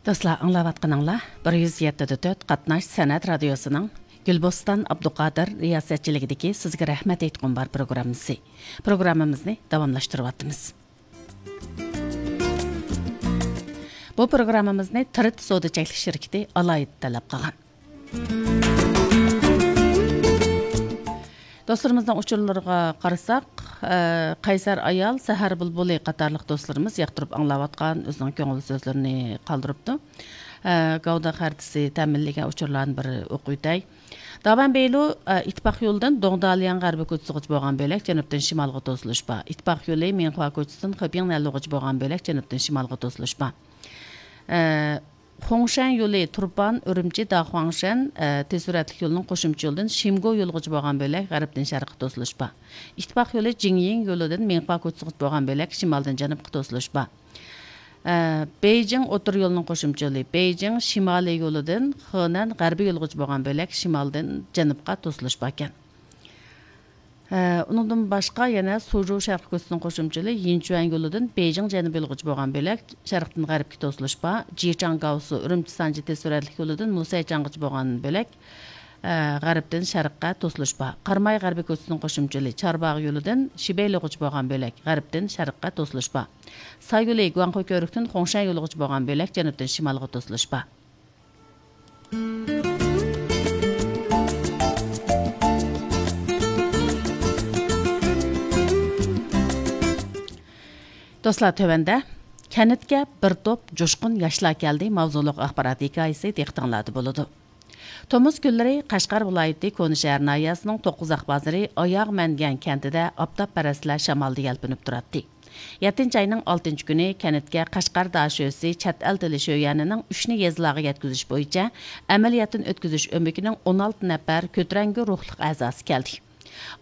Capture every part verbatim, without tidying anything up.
دوستلار، ئاڭلاۋاتقىنىڭلار بىر يۈز يەتتە دە تۆت قاتناش سەنئەت رادىيوسىنىڭ گۈلبوستان ئابدۇقادىر رىياسەتچىلىكىدىكى سىزگە رەھمەت ئېيتقۇم بار پروگراممىسى. پروگراممىمىزنى داۋاملاشتۇرۇۋاتىمىز. بۇ پروگراممىمىزنى تىرىت سودا چەكلىك شىركىتى ئالاھىدە تەلەپ قىلغان. دوستلىرىمىزنىڭ ئۇچۇرلىرىغا قارىساق، ئە، قەيسەر ئايال، سەھەر بۇلبۇلى قاتارلىق دوستلىرىمىز ياقتۇرۇپ ئاڭلاۋاتقان ئۆزىنىڭ كۆڭۈل سۆزلىرىنى قالدۇرۇپتۇ. ئە، گاۋدا خەرىتىسى تەمىنلىگەن ئۇچۇرلارنى بىر ئوقۇۋېتەي. دابەن بېيلۇ، ئە، ئىتتىپاق يولىدىن دوڭدالياڭ غەربىي كوچىسىغىچە بولغان بۆلەك جەنۇبتىن شىمالغا توسۇلۇش بار. ئىتتىپاق يولى مىڭخۇا كوچىسىدىن خېبيىڭ نەنلۇغىچە بولغان بۆلەك جەنۇبتىن شىمالغا توسۇلۇش بار. ئە، خۇڭشەن يولى تۇرپان، ئۈرۈمچى، داخۇاڭشەن، ئە، تېز سۈرئەتلىك يولىنىڭ قوشۇمچە يولىدىن شىمگو يولىغىچە بولغان بۆلەك غەربتىن شەرققە توسۇلۇش بار. ئىتتىپاق يولى جىڭيىڭ يولىدىن مىڭخۇا كوچىسىغىچە بولغان بۆلەك شىمالدىن جەنۇبقا توسۇلۇش بار. ئە، بېيجىڭ ئوتتۇرا يولىنىڭ قوشۇمچە يولى بېيجىڭ شىمالىي يولىدىن خېنەن غەربىي يولىغىچە بولغان بۆلەك شىمالدىن جەنۇبقا توسۇلۇش باركەن. ئە، ئۇنىڭدىن باشقا يەنە سۇجۇ شەرقىي كوچىسىنىڭ قوشۇمچە يولى يىنچۈەن يولىدىن بېيجىڭ جەنۇبىي يولىغىچە بولغان بۆلەك شەرقتىن غەربكە توسۇلۇش بار. جىچاڭگاۋسۇ ئۈرۈمچى سانجى تېز سۈرئەتلىك يولىدىن مۇسەيچاڭغىچە بولغان بۆلەك، ئە، غەربتىن شەرققە توسۇلۇش بار. قاراماي غەربىي كوچىسىنىڭ قوشۇمچە يولى چارباغ يولىدىن شىبېيلۇغىچە بولغان بۆلەك غەربتىن شەرققە توسۇلۇش بار. ساي يولى گۇاڭخۇ كۆۋرۈكتىن خۇڭشەن يولىغىچە بولغان بۆلەك جەنۇبتىن شىمالغا توسۇلۇش بار. دوستلار، تۆۋەندە «كەنتكە بىر توپ جۇشقۇن ياشلار كەلدى» ماۋزۇلۇق ئاخبارات ھېكايىسى دىققىتىڭلاردا بولىدۇ. تومۇز كۈنلىرى قەشقەر ۋىلايىتى كونا شەھەر ناھىيەسىنىڭ توققۇزاق بازىرى ئاياغ مەنگەن كەنتىدە ئاپتاپپەرەسلەر شامالدا يەلپۈنۈپ تۇراتتى. يەتتىنچى ئاينىڭ ئالتىنچى كۈنى كەنتكە قەشقەر داشۆسى چەت ئەل تىلى شۆيۈەنىنىڭ ئۈچنى يېزىلارغا يەتكۈزۈش بويىچە ئەمەلىيەتتىن ئۆتكۈزۈش ئۆمىكىنىڭ ئون ئالتە نەپەر كۆتۈرەڭگۈ روھلۇق ئەزاسى كەلدى.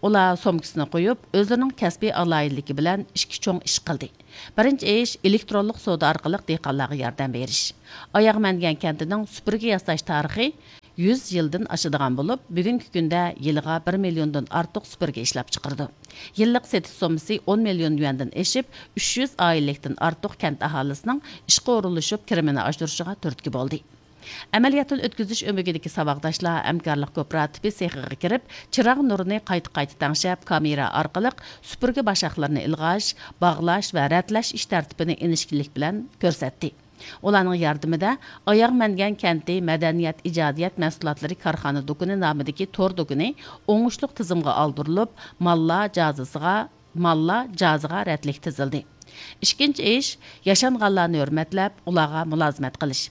ئۇلار سومكىسىنى قويۇپ، ئۆزلىرىنىڭ كەسپىي ئالاھىدىلىكى بىلەن ئىككى چوڭ ئىش قىلدى. بىرىنچى ئىش، ئېلېكترونلۇق سودا ئارقىلىق دېھقانلارغا ياردەم بېرىش. ئاياغ مەنگەن كەنتىنىڭ سۈپۈرگە ياساش تارىخى يۈز يىلدىن ئاشىدىغان بولۇپ، بۈگۈنكى كۈندە يىلىغا بىر مىليوندىن ئارتۇق سۈپۈرگە ئىشلەپچىقىرىدۇ. يىللىق سېتىش سوممىسى ئون مىليون يۈەندىن ئېشىپ، ئۈچ يۈز ئائىلىلىكتىن ئارتۇق كەنت ئاھالىسىنىڭ ئىشقا ئورۇنلىشىپ، كىرىمىنى ئاشۇرۇشىغا تۈرتكە بولدى. ئەمەلىيەتتىن ئۆتكۈزۈش ئۆمىكىدىكى ساۋاقداشلار ھەمكارلىق كوپىراتىپى سېخىغا كىرىپ، چىراغ نۇرىنى قايتا-قايتا تەڭشەپ، كامېرا ئارقىلىق سۈپۈرگە باشاقلىرىنى ئىلغاش، باغلاش ۋە رەتلەش ئىش تەرتىپىنى ئىنچىكىلىك بىلەن كۆرسەتتى. ئۇلارنىڭ ياردىمىدە ئاياغ مەنگەن كەنتى مەدەنىيەت ئىجادىيەت مەھسۇلاتلىرى كارخانا دۇكىنى نامىدىكى تور دۇكىنى ئوڭۇشلۇق تىزىمغا ئالدۇرۇلۇپ، ماللار جازىسىغا، ماللار جازىغا رەتلىك تىزىلدى. ئىككىنچى ئىش، ياشانغانلارنى ھۆرمەتلەپ، ئۇلارغا مۇلازىمەت قىلىش.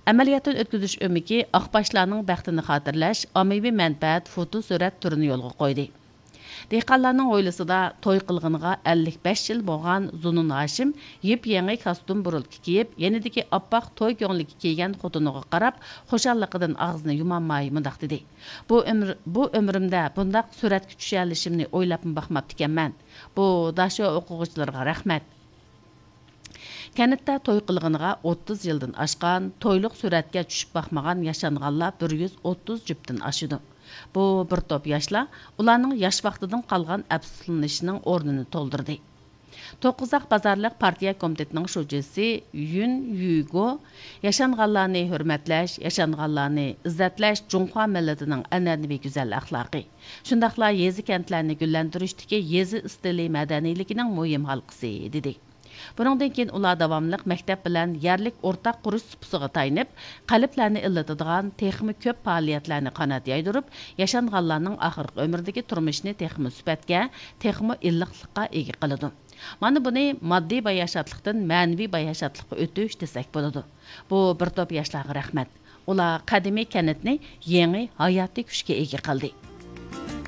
ئەمەلىيەتتىن ئۆتكۈزۈش ئۆمىكى ئاقباشلارنىڭ بەختىنى خاتىرىلەش ئاممىۋى مەنپەئەت فوتو سۈرەت تۈرىنى يولغا قويدى. دېھقانلارنىڭ ھويلىسىدا توي قىلغىنىغا ئەللىك بەش يىل بولغان زۇنۇن ھاشىم يېپيېڭى كاستيۇم بۇرۇلكا كىيىپ، يېنىدىكى ئاپئاق توي كۆڭلىكى كىيگەن خوتۇنىغا قاراپ، خۇشاللىقىدىن ئاغزىنى يۇمالماي مۇنداق دېدى: «بۇ ئۆمۈر، بۇ ئۆمرۈمدە بۇنداق سۈرەتكە چۈشەلىشىمنى ئويلاپمۇ باقماپتىكەنمەن. بۇ داشۆ ئوقۇغۇچىلىرىغا رەھمەت.» كەنتتە توي قىلغىنىغا ئوتتۇز يىلدىن ئاشقان، تويلۇق سۈرەتكە چۈشۈپ باقمىغان ياشانغانلار بىر يۈز ئوتتۇز جۈپتىن ئاشىدۇ. بۇ بىر توپ ياشلار ئۇلارنىڭ ياش ۋاقتىدىن قالغان ئەپسۇسلىنىشىنىڭ ئورنىنى تولدۇردى. توققۇزاق بازارلىق پارتىيە كومىتېتىنىڭ شۇجىسى يۈن يۈگو ياشانغانلارنى ھۆرمەتلەش، ياشانغانلارنى ئىززەتلەش جۇڭخۇا مىللىتىنىڭ ئەنئەنىۋى گۈزەل ئەخلاقى، شۇنداقلا يېزا-كەنتلەرنى گۈللەندۈرۈشتىكى يېزا ئىستىلى مەدەنىيلىكىنىڭ مۇھىم ھالقىسى، دېدى. بۇنىڭدىن كېيىن ئۇلار داۋاملىق مەكتەپ بىلەن يەرلىك ئورتاق قۇرۇش سۇپىسىغا تايىنىپ، قەلبلەرنى ئىللىتىدىغان تېخىمۇ كۆپ پائالىيەتلەرنى قانات يايدۇرۇپ، ياشانغانلارنىڭ ئاخىرقى ئۆمرىدىكى تۇرمۇشىنى تېخىمۇ سۈپەتكە، تېخىمۇ ئىللىقلىققا ئىگە قىلىدۇ. مانا بۇنى ماددىي باياشاتلىقتىن مەنىۋى باياشاتلىققا ئۆتۈش دېسەك بولىدۇ. بۇ بىر توپ ياشلارغا رەھمەت. ئۇلار قەدىمىي كەنتنى يېڭى ھاياتىي كۈچكە ئىگە قىلدى.